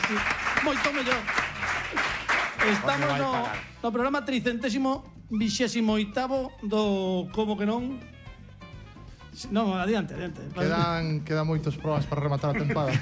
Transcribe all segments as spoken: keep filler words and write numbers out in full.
aquí. Moito mellor. Estamos no, no programa tricentésimo vixésimo oitavo do Como que non. Non, adiante, adiante. Quedan, quedan moitos probas para rematar a tempada.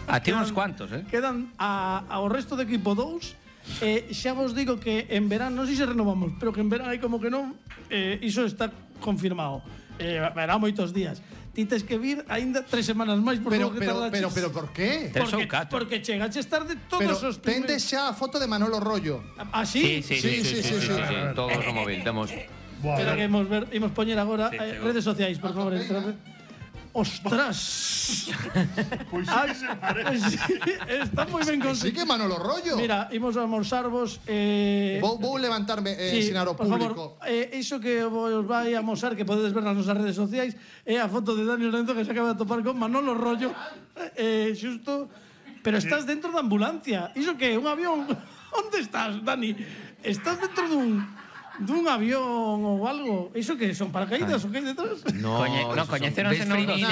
A ti uns cuantos, eh? Quedan a, ao resto do equipo dous. Eh, xa vos digo que en verán, non sei se renovamos, pero que en verán hai como que non, eh, iso está confirmado. Eh, verá moitos días. Ti tes que vir aínda tres semanas máis por Pero, lo que pero, tardaches. pero, pero, por qué? Tres ou Porque, catro. porque chegaches tarde todos Pero os tendes xa a foto de Manolo Rollo. ¿Ah, sí? Sí, sí, sí, sí, sí, sí, sí. Todos no móvil, temos. Espera que imos ver, imos poñer agora Sí, eh, chegou. redes sociais, por favor, entrade. Ostras. Pois Ah, sí que se parece. sí, está moi ben Sí conseguido. que Manolo Rollo. Mira, imos a almorzarvos eh Vou, vou levantarme e sí, ensinar ao por público. favor, eh, iso que vos vai a mostrar, que podedes ver nas nosas redes sociais, é a foto de Dani Lorenzo que se acaba de topar con Manolo Rollo. Eh, xusto, pero estás dentro da ambulancia. Iso que é un avión? Onde estás, Dani? Estás dentro dun dun avión ou algo? Iso que son paracaídas ou que hai detrás? No, no coñeceronse non dos.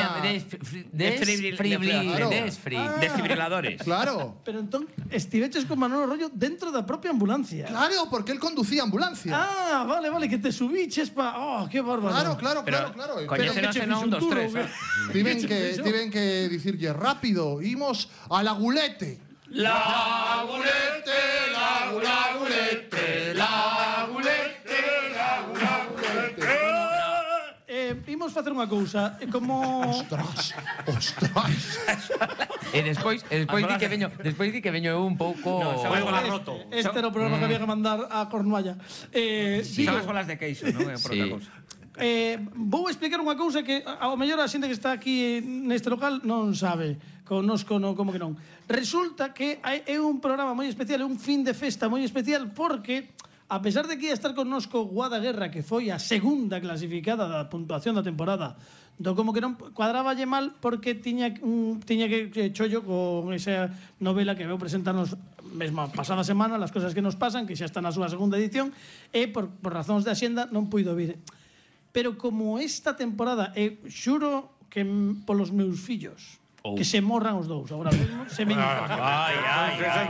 Desfibriladores. Claro. Pero entón estiveches con Manolo Rollo dentro da propia ambulancia. Claro, porque él conducía ambulancia. Ah, vale, vale, que te subiches pa... Oh, qué bárbaro. Claro, claro, Pero claro, claro. coñeceronse non dos tres, eh? Tiven que, tiven que dicirlle rápido, imos a la gulete. La gulete, la gulete, la gulete, la gulete. Eh, imos facer unha cousa, eh, como... Ostras, ostras. E despois, e despois di que veño, despois di que veño eu un pouco Foi gola roto. Este era o programa que había que mandar a Cornualla. Eh, Son digo, as bolas de queixo, non? É por Sí. outra cousa. eh, vou explicar unha cousa que ao mellor a xente que está aquí neste local non sabe. Connosco no como que non. Resulta que hai- é un programa moi especial, é un fin de festa moi especial porque a pesar de que ia estar connosco Guada Guerra, que foi a segunda clasificada da puntuación da temporada do como que non, cuadraballe mal porque tiña un, tiña que, que chollo con esa novela que veu presentarnos mesmo a pasada semana, Las cosas que nos pasan, que xa está na súa segunda edición, e por, por razóns de axenda non puido vir. Pero como esta temporada, e xuro que m- polos meus fillos, Oh. que se morran os dous agora mesmo, se me Ai, ai, ai.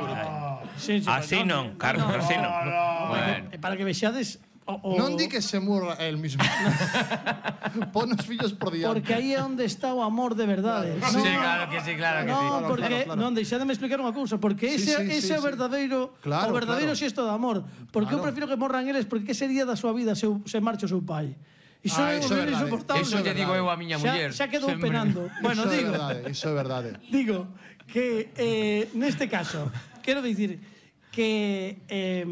Sí, sí, Así non, Carlos, así non. Bueno. Eh, para que vexades o, o, Non di que se murra el mismo. Pon os fillos por diante. porque aí é onde está o amor de verdade. Sí, claro que sí, claro que no, sí. Claro, porque claro, claro. non deixademe explicar unha cousa, porque Sí, ese sí, ese sí, é o sí. verdadeiro, Claro, o verdadeiro claro. xesto de amor, porque eu Claro. prefiro que morran eles, porque que sería da súa vida se eu- se marcha o seu pai? Iso Ah, é iso é un verdade. insoportable. Eso lle digo eu a miña Xa, muller. xa quedou Sempre. penando. Bueno, Iso é digo, verdade, iso é verdade. digo que eh, neste caso quero dicir que eh,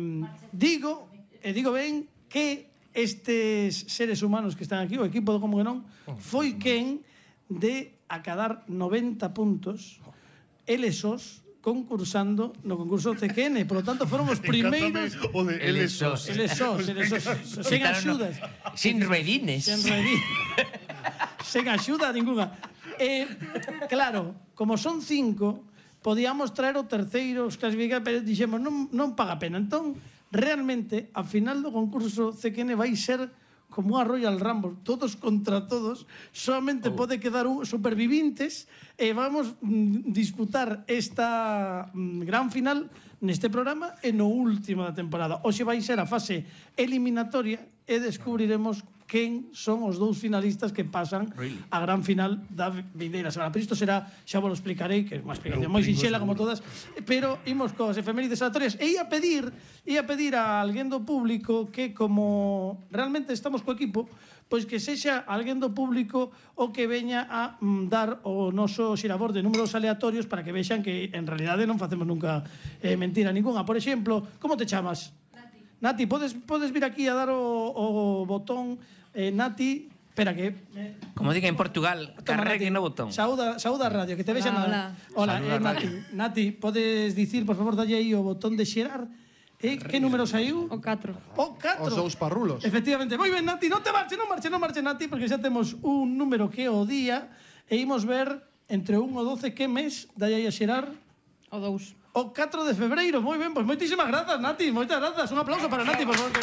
digo e digo ben que estes seres humanos que están aquí, o equipo do Como que non, foi quen de acadar noventa puntos eles sós concursando no concurso C Q N, por lo tanto foron os primeiros O de eles sos. eles sós, eles sós, sen axudas. Sin ruedines. Sen reír. Sen axuda ninguna. Eh, claro, como son cinco, podíamos traer o terceiro, os clasificar, pero dixemos, non, non paga pena. Entón, realmente, a final do concurso C Q N vai ser como a Royal Rumble, todos contra todos, solamente oh. pode quedar un supervivintes e vamos mm, disputar esta mm, gran final neste programa e no último da temporada. Hoxe vai ser a fase eliminatoria e descubriremos quen son os dous finalistas que pasan really? a gran final da vindeira semana. Pero isto será, xa vos lo explicarei, que é unha explicación moi sinxela como todas, pero imos coas efemérides aleatorias e ia pedir, ia pedir a alguén do público que como realmente estamos co equipo, pois que sexa alguén do público o que veña a mm, dar o noso xirabor de números aleatorios para que vexan que en realidade non facemos nunca eh, mentira ninguna. Por exemplo, como te chamas? Nati. Nati, podes, podes vir aquí a dar o, o botón eh, Nati, espera que... Eh, Como diga en Portugal, carregue no botón. Saúda, saúda a radio, que te vexan... Hola, Hola, Saúda eh, a Nati, Nati, podes dicir, por favor, dalle aí o botón de xerar. Eh, que número saiu? O catro. O catro. Os dous parrulos. Efectivamente. Moi ben, Nati, non te marche, non marche, non marche, Nati, porque xa temos un número que é o día e imos ver entre un e doce que mes dalle aí a xerar O dous. o catro de febreiro. Moi ben, pois moitísimas grazas, Nati, moitas grazas. Un aplauso para Nati, por favor. Que